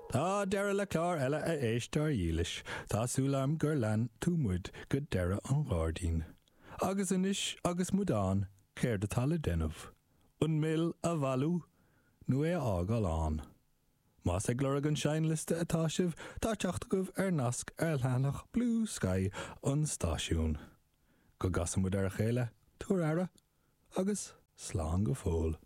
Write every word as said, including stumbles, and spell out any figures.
Tá deireadh le clár eile a éisteoir dhílis, Tá súil agam gur lean tú muid go deireadh an ghairdín. Agus anois agus muid ann, céard atá le déanamh? An mil a bhailiú nó é a fhágáil ann. Más ag lorg an seinnliosta atá sibh, tá teacht agaibh ar nasc ar leathanach Bluesky an stáisiúin. Go gcasa muid ar a chéile, tabhair aire, agus slán go fóill.